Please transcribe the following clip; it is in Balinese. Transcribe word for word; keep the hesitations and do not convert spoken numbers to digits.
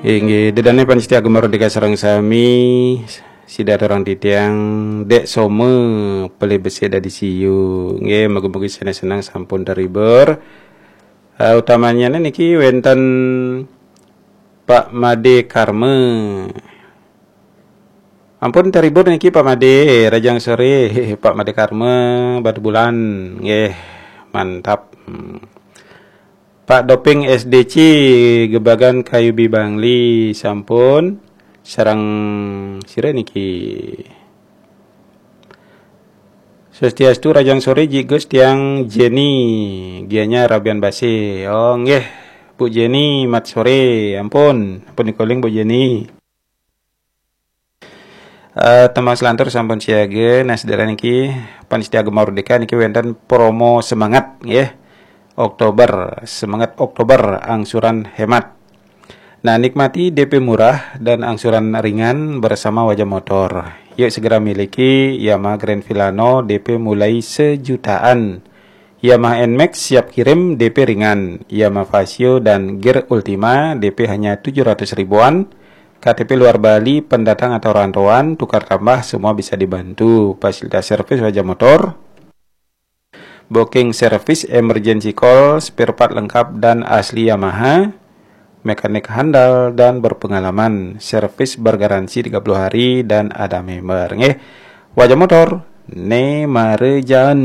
Inggih, dedane panitia Gema Merdeka sareng sami, sida aturang titiang, Dek Soma pelih besik dadi siu. Nggih, mugi-mugi seneng-seneng sampun terhibur. Eh, utamanya niki wenten Pak Made Karma. Ampun terhibur niki Pak Made, rajang sore, Pak Made Karma, Batu Bulan. Nggih, mantap. Hmm. Pak Doping S D C, Gebagan Kayu Bibangli, sampun. Sareng sira niki. Swastiastu, rajang sore, Ji Gus tiang Jenny, Gianyar Abian Base. Oh, nggih, Bu Jenny, mat sore. Ampun, ampun dikoling Bu Jenny. Eh, tembang selantur sampun siaga. Nah, sedherek niki panitia Gema Merdeka niki wenten promo semangat nggih. Oktober, semangat Oktober, angsuran hemat. Nah, nikmati D P murah dan angsuran ringan bersama Wajah Motor. Yuk segera miliki Yamaha Grand Filano, D P mulai sejutaan. Yamaha N-Max siap kirim, D P ringan. Yamaha Fazzio dan Gear Ultima, D P hanya tujuh ratus ribuan. K T P luar Bali, pendatang atau rantauan, tukar tambah, semua bisa dibantu. Fasilitas servis Wajah Motor, booking service, emergency call, spare part lengkap dan asli Yamaha, mekanik handal dan berpengalaman, servis bergaransi tiga puluh hari dan ada member. Nggih, Wajah Motor, ne marejaan.